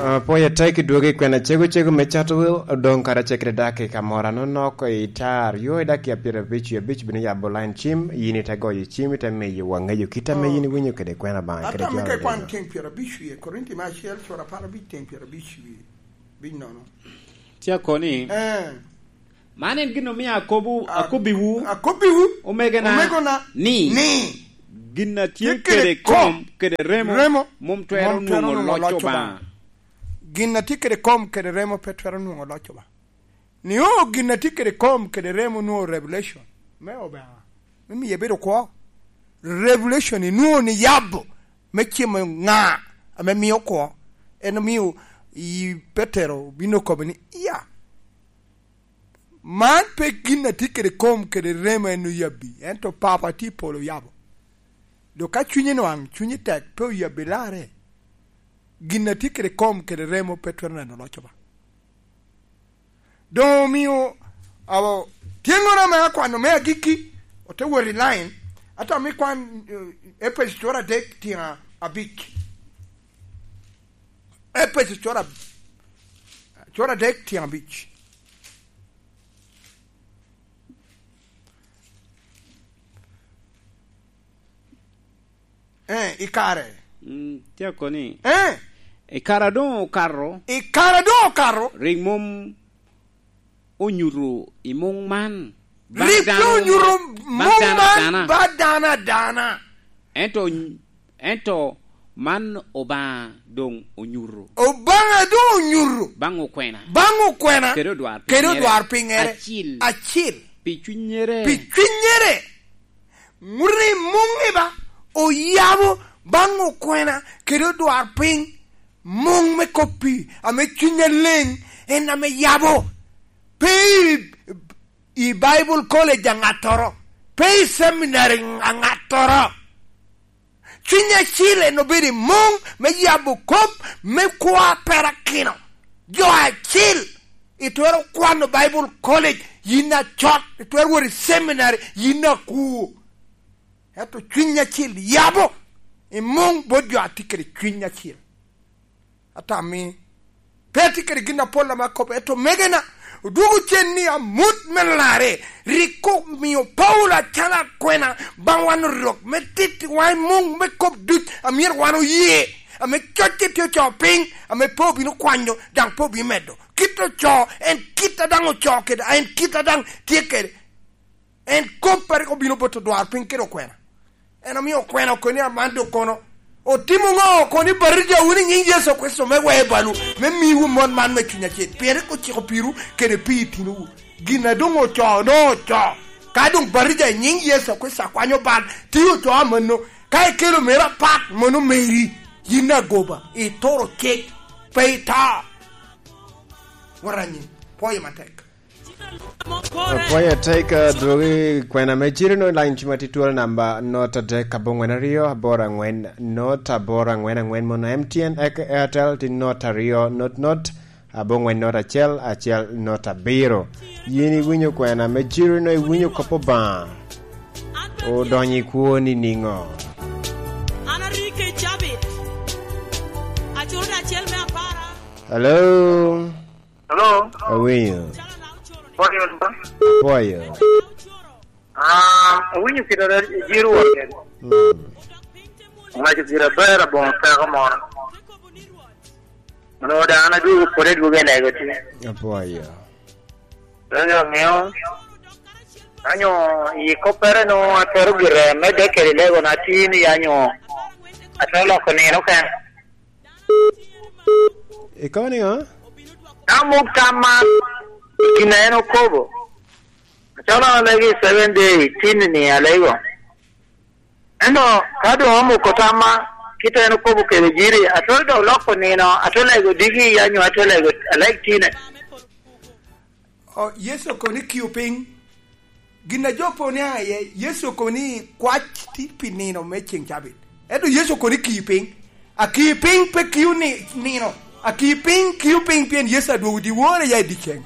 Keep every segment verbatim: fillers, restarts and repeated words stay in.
Apwoyo atek i dwogi kwena cego cego me Chartwell, odong kara cekere dakika moro anonok i tar aryo i dakika pyerabic wie abic bino yabo line cim, yin ite goyo cim, ite miyo wangeyo kit ame Oh. yin iwinyo kede kwena Baŋa kede Ata me jo ka aryo. Ikwan tyen pyerabic wie, Korinti me acel, cura apar abic tyen pyerabic wie, bic nono. Tye akoni, Eh. Man en gin omio akobo, A-, akobbiwu, akobbiwu, omegona, omegona, ni, ni, gin a tye tye kede kede kom kom kede remo remo mom twero mom twero nwoŋo nwoŋo loc loc Obaŋa. Obaŋa. Gin a tye kede kom kede remo pe twero nwoŋo loc Obaŋa. Ni o gin a tye kede kom kede remo nwoŋo revelation me Obaŋa, me miyo ebedo kwo. Revelation inwoŋo ni yabo me cimo ŋa ame mio kwo. En omio i Petero bino kobo ni, "Iya, man pe gin a tye kede kom kede remo en oyabbi, ento Papa tye i polo oyabo." Dok ka cunyi nwaŋ, cunyi tek, pe oyabbi larre, gin a tye kede kom kede remo pe twero neno loc Obaŋa. Doŋ omio, awo, tyeŋŋoro ame akwano me agikki, ote wot i line, ata mi kwan, eh, Epeco cura adek tyen abic. Epeco cura, cura adek tyen abic. Eh, i kare. Mm, tye akoni. Eh. I kare a doŋ okato. I kare a doŋ okato. Rik mom onyuto i muŋ man. Ba Rik dano, doŋ onyuto ba muŋ dano man adana. Ba dano adana. Ento, ento man Obaŋa doŋ onyuto. Obaŋa doŋ onyuto. Baŋ okwena. Baŋ okwena. Kede odwar kede pinyere. Odwar pinyere. Acil. Acil. Pi cunnyere. Pi cunnyere. Ŋut i muŋ ni ba, oyabo baŋ okwena kede odwarpiny, muŋ me kop-pi ame Cuny Aleŋ en ame yabo. Pe i, i Bible College a ŋattoro, pe i seminary a ŋattoro. Cuny Acil en obedo i muŋ me yabo kop me kwo a perakino. Jo acil, itwero kwano Bible College, yin acot, itwero wot i seminary, yin akuo. Ento Cuny Acil yabo i muŋ bot jo a tye kede Cuny Acil. Atammi, pe atye kede gin apol ame akobo, ento omegena, odwogo cen ni amut me larre rik omio Paulo acalo akwena baŋ wan orok me tittiwa i muŋ me kop duc a myero wan oye, ame cocce tye ocoo piny, ame pe obino kwanyo, daŋ pe obino medo. Kit ocoo, en kit a daŋ ocoo kede, en kit a daŋ tye kede. En kop a rik obino bot odwarpiny kede okwena. En omio okwena okoni aman dok kono. Otimo ŋo? Okoni batija wunu i nyiŋ Yecu Kricito me wee balwu, me miwu mot man me Cuny Acil. Pien rik ociko pirwu kede pi itinowu. Gin a doŋ ocoo, doŋ ocoo. Ka doŋ batija i nyiŋ Yecu Kricito akwanyo bal, tye ocoo amanno. Ka ikelo meri apat, mano meri. Yin agoba, ituro cik, pe ito. Waranyi, pwoyo matek. Apwoyo atek, adwogi kwena me ciro no, line cim atye twolo namba not adek abongwen aryo aboro angwen, not aboro angwen angwen, mono M T N eke Airtel tye not aryo not not abongwen not acel acel not abiro. Yin iwinyo kwena me ciro no, iwinyo kop Obaŋa odonyo i kwoni niŋo? An arike i cabit. Acuro acel me apara. Hello? Hello? Awinyo. Pwoyo, Pwoyo. Ah, awinyo kit a jiro wa kede. Mm. Owaco gire aber aboŋo teko moro. Onwoŋo daŋ an adwogo kode adwoga i lego tye. Apwoyo. Donyo ŋeo. Anyo i koppere no atwero gire medde kede lego na tin i anyo. Atwero loko nino ken. Ikobo niŋo? Ka muk tam man, i kin a en okobo, acalo alego i seven day, tin ni alego. Ento ka doŋ omuko tamma, kit a en okobo kede jiri, atwero dok loko nino, atwero lego diki, anyo atwero lego aleg tine. O, Yecu okobo ni, "Kiu piny." Gin a jo po ni aye, Yecu okobo ni kwac tye pi nino me ceŋ cabit. Ento Yecu okobo ni, "Kiu piny." Akii piny pe kio ni, nino. Akii piny kio piny pien Yecu adwogo dyewor iya i dyeceŋ.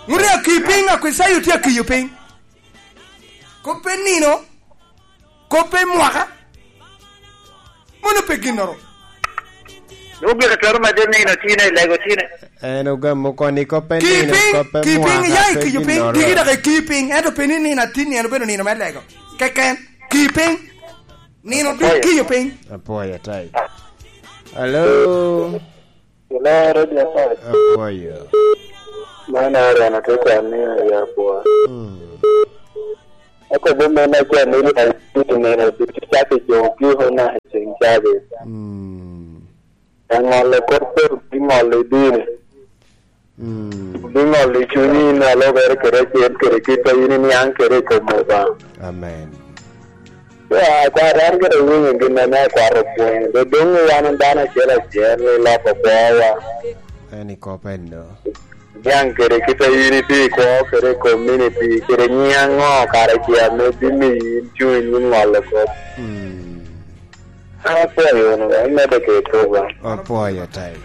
Ŋut akii piny, Akweciayo tye akiyo piny. Kop pe nino, kop pe mwaka, mono pe ginnoro. Nwoŋo gire twero medde nino tine, lego tine. En ogamo koni koppe nino, koppe mwaka, pe ginnoro. Ki piny, ki piny, ya i kiyo piny, diki dok i kiyo piny, ento pe ni nino atin, nino obedo nino me lego. Keken, ki piny, nino duk kiyo piny. Apwoyo, tai. Hello? Hello, Radio Five. Apwoyo. Man Aaron, atye ka nino i Abwa. Mm. Akobo mene acel ni, nino ducu nino ducu cak i jo kiko naka i ceng cabi. Mm. Aŋolo kop pe obiŋolo i dini. Mm. Obiŋolo i cunyi in a lubere kede acel kede kit a in iniaŋ kede i kom Obaŋa. Amen. Ya, akwar, an gire awinyo gin ame akwar opwonyo. Dok doŋ wan dano acel acel iloko kwowa. En i kop enno. Niaŋ kede kit a in itye i kwo kede i community, kede nyiŋ aŋo kara ce ame bimiyi in cuny me ŋolo kop. Mm. An apwoyo wunu, imedde kede program. Apwoyo tek.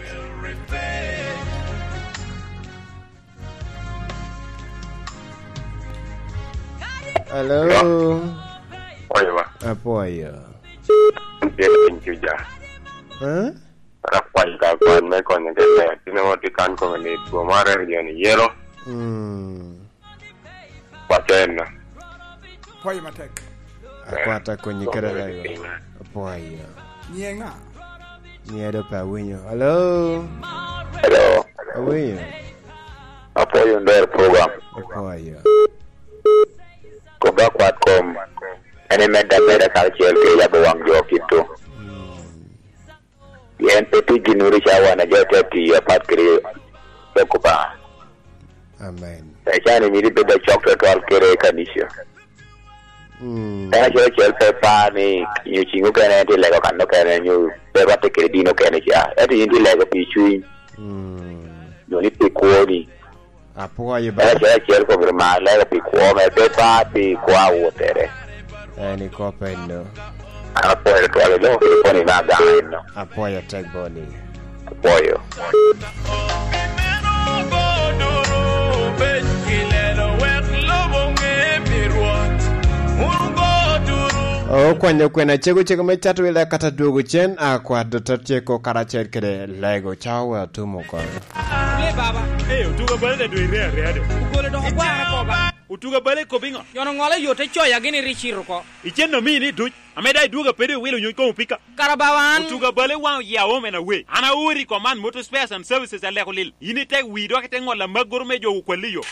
Hello? Hello? Apwoyo ba? Apwoyo. An tye piny Juja. Eh? An akwayo ka kwan me konyo kede. Tin aŋo tye kan kome ni two mare region yelo? Mm. Kwaco enno. Pwoyo matek. Akwata konyi kede lego. Apwoyo. Nyiŋa? Nyiŋa do pe awinyo. Hello? Hello. Awinyo. Apwoyo nder program. Apwoyo. Kobba kwat kom. En imedde ameda karacel kede yabo waŋ jo kito. Mm. Pien pe tye gin uru ca wan a jo te tiyo apat kede lok Obaŋa. Amen. Ecani mito ibed acok twatwal kede kanica. Mm. En acel acel pe par ni nyo ciŋ okene en tye lego kan okene, nyo pe rwatte kede dino okene ca. Ento yin tye lego pi cuny. Mm. Nyo ni pi kwoni. Apwoyo ba. En acel acel kom rik mar lego pi kwo mere, pe par pi kwo a wottere. En i kop enno. An apwoyo tutwal i loko kede pwony me Agana enno. Apwoyo tek boni. Apwoyo. Okwanyo kwena cego cego me Chatwila kata dwogo cen, akwat dottor ceko karacel kede lego cawa wa tumo kono. Le baba. Eh, otuga bale da dwe ire area do. Ogole dok ogware ko ba. Otuga bale kop iŋo? Nyono ŋolo yo te coya gini ri ciro ko. Icen omi ni duc. Ame da idwoga pede iwilo nyuc komo pika. Kara bawa an. Otuga bale waŋ oya home and away. An aori i Command Motor Spares and Services aleko lil. In ite wi dok ite ŋolo amaggoro me jo okwalli yo.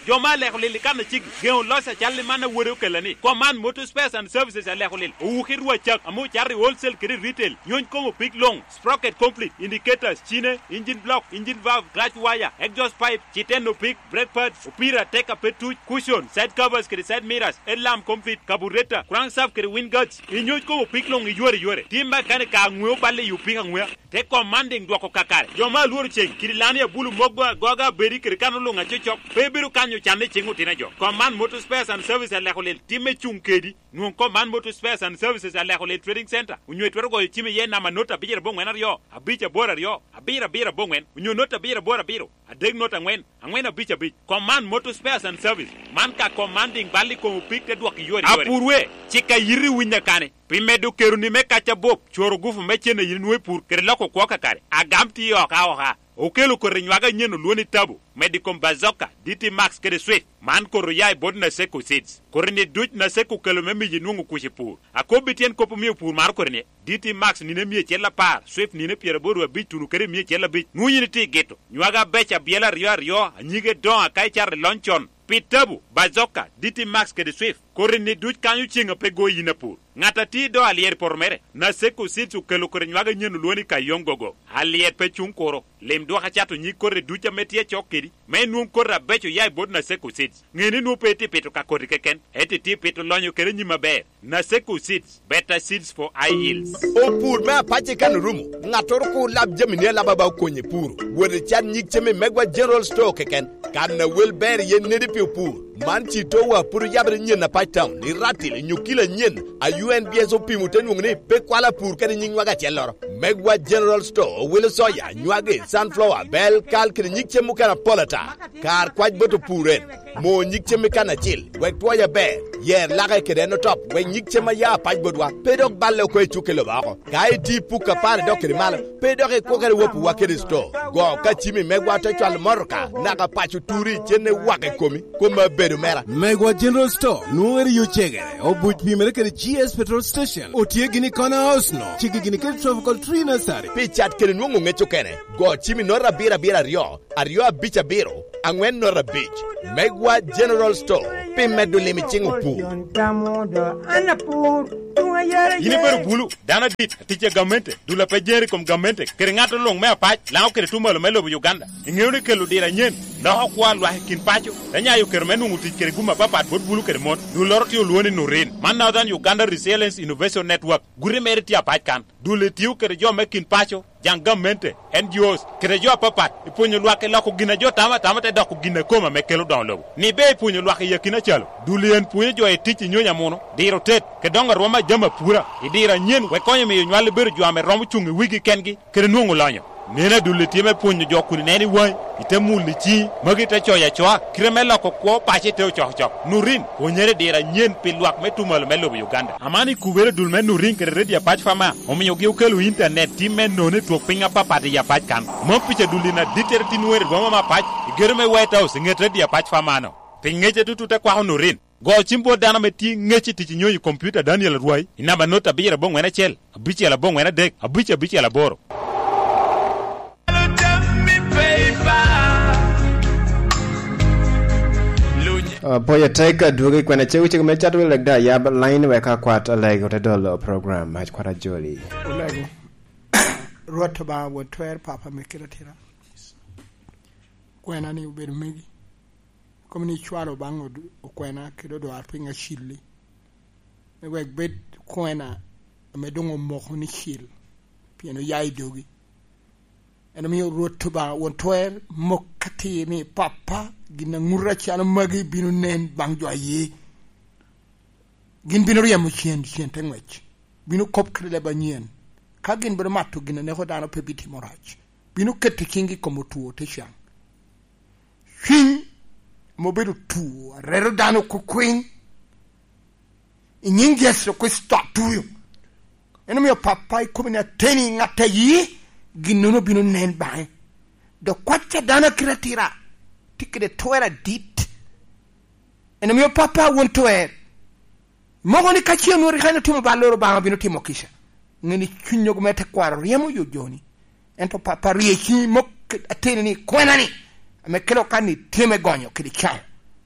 Jo ma aleko lil i kan acigi. Geŋo loc acal i man awode okella ni. Command Motor Spares and Services aleko lil. Owuki rwa cak. Ame ocato i wholesale kede retail. Nyuc komo pik loŋ. Sprocket complete, indicators, cine, engine block, engine valve, clutch wire, exhaust pipe, citeno pig, brake pads, opira, tek a pe tuc, cushion, side covers kede side mirrors, headlamp complete, carburetor, crankshaft kede wind guards, inyuc komo pig luŋ i yore yore. Tim mechanic ka aŋweo balle i opika aŋwea. Te commanding dwoko kakare. Jo ma alworo ceng, kidi lani abulu mogo agoga abedi kede kano luŋ acocok, pe ibino kanyo canne i cing otino jo. Command Motor Spares and Service aleko lel, timme cuŋ kedi. Nwoŋ kom man Motor Spares and Services aleko lel Trading Center, onyo itwero goyo cim iye namba not abicel aboŋwen aryo, abic aboro aryo, abiro abiro aboŋwen, onyo not abiro aboro abiro, adek not aŋwen, aŋwen abic abic. Kom man Motor Spares and Service, man ka kom man diŋ bal i kom opik te dwok i yore yore. Apur we, cik a yiti winyo kane, pi medo keroni me kac abop, cworo gufu me cen a yin nwoŋo i pur, kede loko kwo kakare, agam tiyo oka oka. Okelo koti nywage anyen olwoni Tabo, medo i kom Bazooka, D T Max kede Swift. Man koti oya i bot Naseko Seeds. Koti-ni duc Naseko okelo me miyo inwoŋo kuc i pur. Akobbi tyen kop omio pur maro koti-ni, D T Max nino emia acel apar, Swift nino pyeraboro abic tuno kede emia acel abic. Nwoŋo yin itye i gito. Nywage abeco abyela aryo aryo, anyige doŋ aka icato i lony con. Pi Tabo, Bazooka, D T Max kede Swift, koti-ni duc kanyo ceŋ a pe goyi yin apur. Ŋat a tye i do alyet i poto mere, Naseko Seeds okelo koti nywage anyen olwoŋo ni Kayong Gogo. Alyet pe cuŋ kuro. Lim dwok acato nyig koti duc ame tye acok kedi, me inwoŋ koti abeco oya i bot Naseko Seeds. Ŋe ni nwoŋo pe itye pito ka koti keken, ento itye pito lonyo kede nyim aber. Naseko Seeds, better seeds for high yields. Opur me apace kan orumo, ŋattoro kur lab jamini alaba ba okonye puro. Wot icat nyig cem i Megwa General Store keken. Kan a wel ber iye nedi pi opur. Man citowa pud oyabere nyen a Pacetown, i Ratil, nyo kilo anyen, a U N B S opimo te nwoŋo ni pe kwalo apur kede nyig nywage acelloro. Megwa General Store owilo soya, nywage, sunflower, bel, kal kede nyig cem mukene apol ata. Kar kwac bot opur en. Mo nyig cem i kan acil, wek twoc aber, yer lake kede en otop, wek nyig cem a ya apac botwa pe dok balle oko i cukke lobo oko. Ka itye i puk apar idok kede malo, pe dok ikwokere wopowa kede sto. Go ka cimi megwa te cwalo motoka, naka paco turi icenne wak i komi, kom abedo mera. Megwa General Store nwoŋere yo cegere, obuc pimere kede G S Petrol Station, otye gini i Corner House no, cigi gini kede Tropical Tree Nursery. Pi cat kede nwoŋo ŋec okene, go cimi nota abiro abiro aryo, aryo abic abiro, aŋwen nota abic. Megwa General Store, pi medo lim i ciŋ opur. Yin ibedo bulu, dano adit, atic a gamente, dul a pe jer i kom gamente, kede ŋat luŋ me apac, Laŋo kede Tumalo me lobo Uganda. Iŋeo ni kelo diro anyen loko kwo a lwak i kin paco, te nyayo kero me nwoŋo tic kede gum apapat bot bulu kede mon. Dulloro tye olwoŋo ni Nurin. Man Northern Uganda Resilience Innovation Network. Guti mere tye apac kan. Dul etio kede jo me kin paco, jaŋ gamente, N G Os, kede jo apapat, i pwonyo lwak i loko gin a jo tamo atama te doko gin a kome ame kelo doŋo lobo. Ni be i pwonyo lwak i akina calo, dul en pwonyo jo i tic i nyony amuno, diro tet, kede doŋo arwom a jami apura, i diro anyen wek konyo miyo nywal bedo jo ame romo cuŋ i wigi kengi, kede nwoŋo lonyo. Neno adul tye me pwonyo jo kun ineno i waŋi, ite mulo i ciŋi, magi te coyo acoa, kite me loko kwo paco ite ocokocok. Nurin, pwonyere i diro anyen pi lwak me Tumalo me lobo Uganda. Aman i kubere dul me Nurin kede Radio Apac Fama, omiogi okelo intanet tim me nono i twok piny apapat i Apac kan. Mom pica dul in adittere tin weri rwoma me Apac, i gedo me White House i ŋet Radio Apac Fama no. Pi ŋece tutu te kwako Nurin. Go cim bot dano ame tye ŋec i tic i nyonyo i kompiuta Daniel Arwai i namba not abiro aboŋwen acel, abicel aboŋwen adek, abic abicel aboro. Ah, pwoyo tek, adwogi kwena cego cego me cat wi leg da yab line wek akwat leg ote dolo program mac kwat ajoli. Olego. Rwot Obaŋa won twer, Papa me kite atira. Kwena ni obedo megi. Kom ni icwalo baŋ od-, okwena kede odwarpiny acil-li, me wek bed kwena ame doŋ omoko ni cil, pien oya i dogi. En omio Rwot Obaŋa won twer mok atir ni, Papa, gin a ŋuto acalo magi bino nen baŋ jo aye. Gin bino ryemo cen, cen te ŋwec. Bino kop kede leb anyen. Ka gin bino mato gin a neko dano, pe bitimo rac. Bino keto ciŋgi i kom otwo, te caŋ. Cwiny ame obedo otwo, areto dano kukwiny, i nyiŋ Yecu Kricito atuyo. En omio, Papa, ikobo ni ateni ŋat a ye, ginnono bino nen baŋe. Dok kwat a dano a kite atira tye kede twer adit. En omio, Papa, won twer. Moko ni ka ce onwoŋo rik en otimo balloro, Obaŋa bino timo kica. Ŋe ni cuny ogo me tekwaro ryemo yo joni. Ento, Papa, rie ciŋi mok ateni ni kwena-ni, ame kelo kan ni tye me gonyo kede caŋo.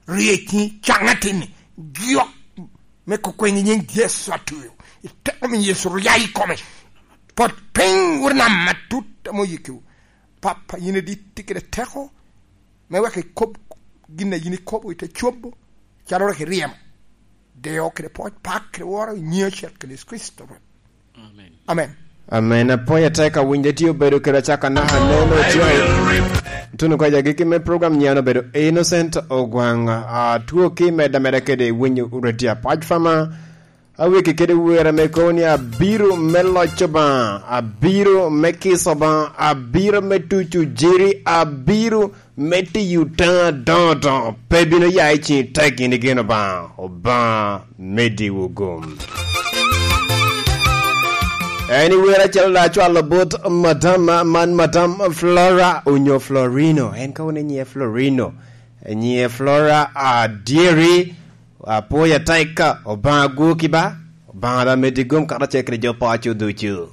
Rie ciŋi, caŋ atin-ni, jok me kukweny i nyiŋ Yecu atuyo. I teko me Yecu, rya i kome. Pot piny wot nam atut ame oyikkiwu. Papa, yin adit, tye kede teko, me wek ikob gin a yin ikobo i te cobo, calo rik iryemo. Deo kede pwoc, pak kede woro, i nyiŋ acel kede Yecu Kricito Rwot. Amen. Amen. Amen. Apwoyo atek, awinyo tye obedo kede acaka naka aneno tye. Tuno kɔc agikki me program nyian obedo Innocent Ogwaŋ. Atwo ki medda medda kede winyo Radio Apac Fama. Aweki kede wer ame kobo ni, "Abiro me loc Obaŋa, abiro me kiso Obaŋa, abiro me tuco jiri, abiro me tiyo taŋ adoŋo doŋo, pe bino ya i ciŋi tek in igeno Obaŋa, Obaŋa me diwu gum." En i wer acel da cwalo bot madam man, madam Flora onyo Florino, en ka wun inyiŋe Florino, inyiŋe Flora adyeri. Apwoyo atek, Obaŋa gwoki ba, Obaŋa da medi gum karacel kede jo paco ducu.